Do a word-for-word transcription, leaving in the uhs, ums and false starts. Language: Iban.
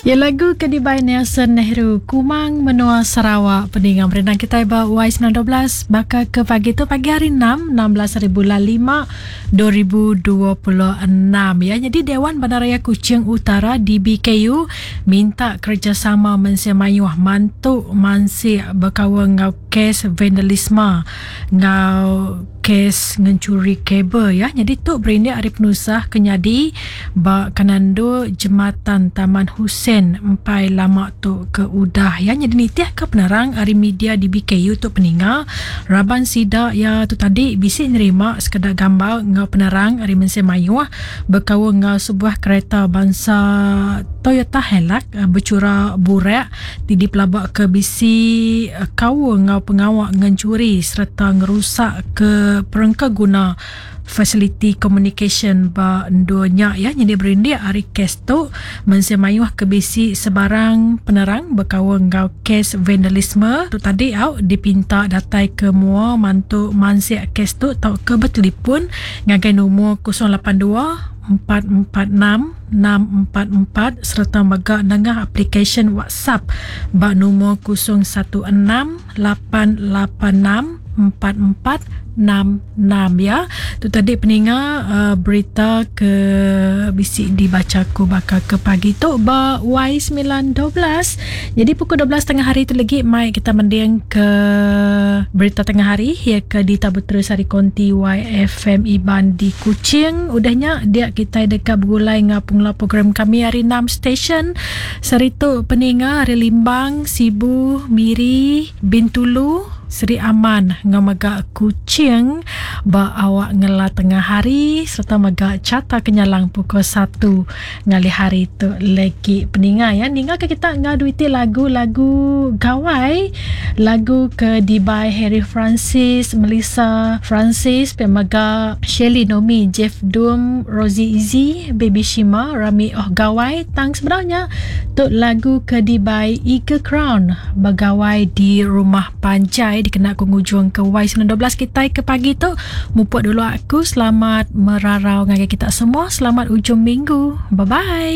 Ya lagu ke dibai Nelson Nehru Kumang Menua Sarawak peninga merindang kitai ba Y sembilan dua belas baka ke pagi tu pagi hari enam enam belas hari bulan lima dua ribu dua puluh enam ya. Jadi Dewan Bandaraya Kuching Utara D B K U minta kerjasama mensia mayuh mantu mansik berkawan ngau kes vandalisme ngau kes ngencuri kabel ya. Jadi tu berindik hari penusah kenyadi ba Kanando Jematan Taman Hussein empai lama tu ke udah ya. Jadi nitih ke penerang hari media D B K U tu peninga raban sida ya tu tadi bisi nerima sekeda gambar ngau penerang hari mensia mayuh berkaul ngau sebuah kereta bangsa Toyota Hilux bercura burak ti dipelabak ke bisi kaul ngau pengawak ngencuri serta ngerusak ke perengka guna fasiliti communication ba dunya ya. Jadi berindik hari kes tu mensia mayuh ke bisi sebarang penerang berkaul ngau kes vandalisme tu tadi au dipinta datai ke mua mantu mansik kes tu tau ke bertelefon ngagai nombor kosong lapan dua empat empat enam enam empat empat serta mega nengah aplikasi WhatsApp ba nombor kosong satu enam lapan lapan enam empat empat enam enam ya. Tu tadi peninga uh, berita ke bisi dibaca ku bakal ke pagi tu ba Y sembilan dua belas. Jadi pukul dua belas tengah hari tu lagi mai kita mending ke berita tengah hari ya ke di Tabu Terus Hari Konti Y F M Iban di Kuching. Udahnya dia kita dekat bergulai ngau pengla program kami hari enam stesen. Seritu peninga hari Limbang, Sibu, Miri, Bintulu, Seri Aman ngau mega Kuching ba awak ngela tengah hari serta mega carta kenyalang pukul satu ngalih hari tu lagi peninga ya. Ninga ke kita ngau duiti lagu-lagu gawai, lagu ke dibai Harry Francis, Melissa Francis, pemega Shelly Nomi, Jeff Doom, Rosie Easy, Baby Shima, Rami Oh Gawai. Tang sebenarnya tu lagu ke dibai Eagle Crown bagawai di rumah panjai dikena ku ngujung ke Y sembilan dua belas kita ke pagi tu. Mupuk dulu aku, selamat merarau ngagai kita semua, selamat ujung minggu. Bye bye.